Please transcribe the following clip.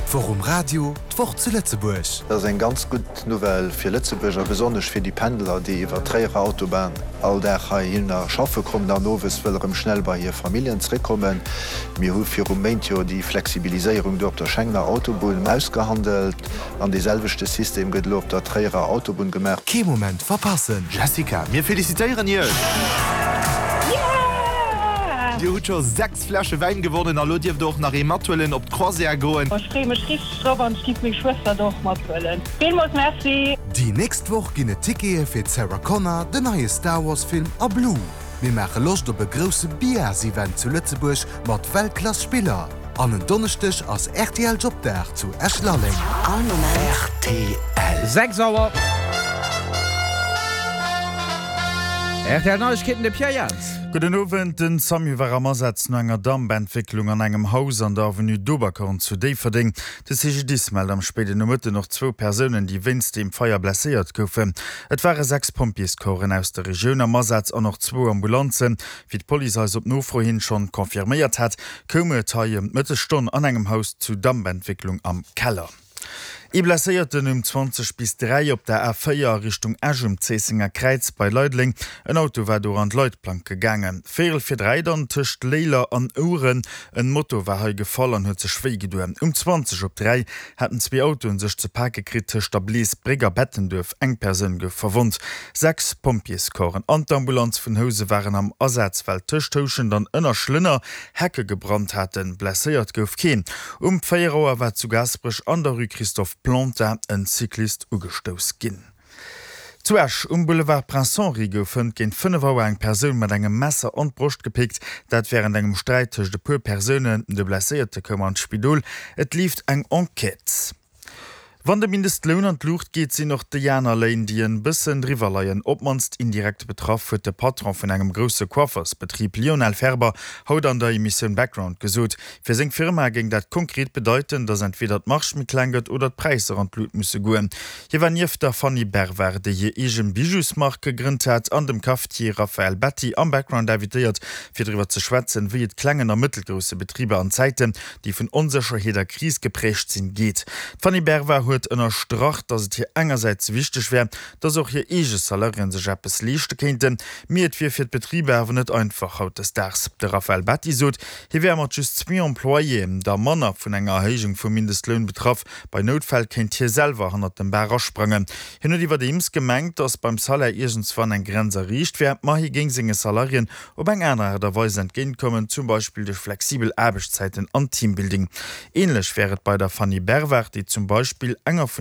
D'Woch um Radio, d'Woch zu Lëtzebuerg. Dat ass eng ganz gutt Nouvelle fir Lëtzebuerg a besonnesch fir déi Pendler, déi iwwer d'Tréierer Autobahn all Dag heihinner schaffe kommen an owes wëlle rëm schnell bei hir Familljen zréckkommen. Mir hu viru Méint jo déi Flexibiliséierung do op der Schengener Autobunn ausgehandelt an dee selwechte System gëtt elo op der Tréierer Autobunn gemaach. Kee Moment verpassen! Jessica, mir felicitéieren Iech! Dir hutt scho 6 Fläsche Wäin gewonnen a lo dierft der och nach ee mathuelen op d'Croisière goen. Ech freeë mech richteg drop an ech giff meng Schwëster do och mathuelen. Villmools Merci! Déi nächst Woch ginn et Tickete fir d'Sarah Connor, den neie Star Wars Film a Blue. Mir maache Loscht op e grousse Biars-Event zu Lëtzebuerg mat Weltklass Spiller. An en Donneschdeg ass rtl Jobdag zu Esch-Lalleng. All Moment. Rtl. 6 Auer. Rtl Neiegkeeten, de Pierre Jans. Gudden Owend. Den Samu war am Asaz no enger Dampentwécklung an engem Haus an der Avenue d'Oberkorn zu Déifferdeng. De CGDIS mellt am spéiden Nomëtten och zwou Persounen, déi wéinst deem Feier blesséiert goufen. Et ware 6 Pompjeescorpsen aus der Regioun am Asaz an och zwou Ambulanzen. Wéi d'Police eis op Nofro hin schonn confirméiert hat, koum et hei ëm d'Mëttesstonn an engem Haus zu Dampentwécklung am Keller. Ee Blesséierten um 20 bis 3 op der A4 a Richtung Esch um Zéissenger Kräiz bei Leideleng. En Auto war do an d'Leitplank gegaangen. Véierel vir 3 dann tëscht Léiler an Ouren. En Moto war hei gefall an huet sech wéi gedoen. Um 20 op 3 haten zwee Autoen sech ze pake kritt tëscht der Bleesbréck a Bettenduerf. Eng Persoun gouf verwonnt. 6 Pompjeescorpsen an d'Ambulanz vun Housen waren am Asaz, well tëscht Houschent an Ënnerschlënner Hecke gebrannt haten. Blesséiert gouf keen. Um 4 Auer war zu Gaasperech an der Rue Christophe Plantin en Cyclist ugestouss ginn. Zu Esch um Boulevard Prince Henri gouf hënt géint 5 Auer eng Persoun mat engem Messer an d'Broscht gepickt. Dat wärend engem Sträit tëscht e puer Persounen. De Blesséierte koum an d'Spidol. Et leeft eng Enquête. Wann de Mindestloun an d'Luucht geet, sinn och déi aner Léin, déi en bëssen driwwer leien, op d'mannst indirekt betraff, huet de Patron vun engem grousse Coiffersbetrib, Lionel Ferber, haut an der Emissioun Background gesot. Fir seng Firma géing dat konkret bedeiten, datt entweder d'Marge méi kleng gëtt oder d'Präisser an d'Lut musse goen. Hie war nieft der Fanny Bervard, déi hir eege Bijousmark gegrënnt hat, an dem Cafetier Raphaël Betti am Background invitéiert, fir driwwer ze schwätzen, wéi et klengen a mëttelgrousse Betriber an Zäiten, déi vun Onsécherheet a Kris geprägt sinn, geet. D'Fanny Berva huet ënnerstrach, datt et hir engersäits wichteg wär, datt och hir eege Salariéen sech eppes leeschte kéinten, mee et wier fir d'Betriber awer net einfach hautdesdaags. De Raphaël Betti sot, hie wär mat just zwee Employéen der manner vun enger Erhéijung vum Mindestloun betraff. Bei Noutfäll kéint hie selwer hannert dem Bar asprangen. Hien huet iwwerdeems gemengt, datt beim Salaire iergendswann eng Grenz erreecht wär, ma hie géing senge Salariéen op eng aner Aart a Weis entgéintkommen, zum Beispill duerch flexibel Aarbechtszäiten an Teambuilding. Ähnlech wär et bei der Fanny Bervard, déi zum Beispill enger vun.